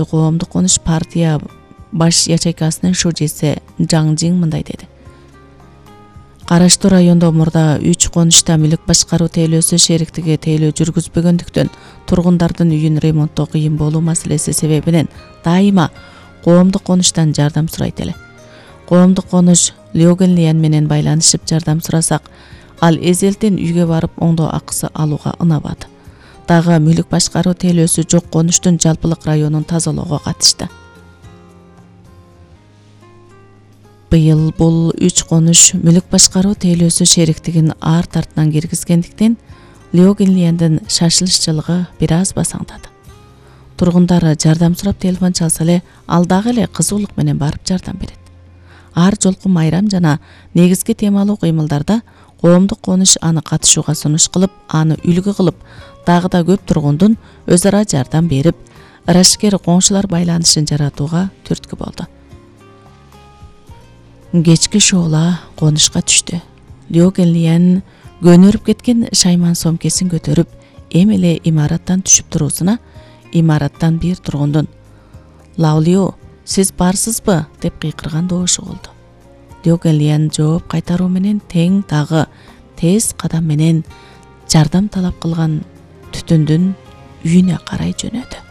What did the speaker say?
Коомдук конуш партия баш ячейкасынын шужеси Жаң Жиң мындай деди. Караштуу райондо мурда 3 конушта мүлк башкаруу тейлөөсү шериктиги тейлөө жүргүзбөгөндүктөн тургундардын үйүн ремонттоо кыйын болуу маселеси себебинен дайыма коомдук конуштан жардам сурайт эле. Коомдук конуш Лёгенлиен менен байланышып жардам сурасак, ал эзелтен үйгө барып оңдоо акысы алууга ынабады. Дагы мүлк башкаруу тейлөөсү жок конуштун жалпылык районун тазалоого катышты. Быйыл бул 3 конуш мүлк башкаруу тейлөөсү шериктигин ар тартынан киргизгендиктен Лёгенлиендин шашылышчылыгы бир аз басаңдады. Тургундар жардам сурап телефон чалса эле ал дагы эле кызуулук менен барып жардам берет. Ар жолку майрам жана негизги темалуу кыймылдарда коомдук конуш аны катышууга сунуш кылып, аны үлгү кылып, дагы да көп тургундун өз ара жардам берип, ырашкер коңшулар байланышын жаратууга түрткү болду. Кечки шоола конушка түштү. Лёгенлиен көнөрүп кеткен шайман сомкесин көтөрүп, эми эле имараттан түшүп туруусуна, имараттан бир тургундун "Лаулио, сиз барсызбы?" деп кыйкырган добушу болду. Лёгенлиен жооп кайтаруу менен тең дагы тез кадам менен жардам талап кылган түтүндүн үйүнө карай жөнөдү.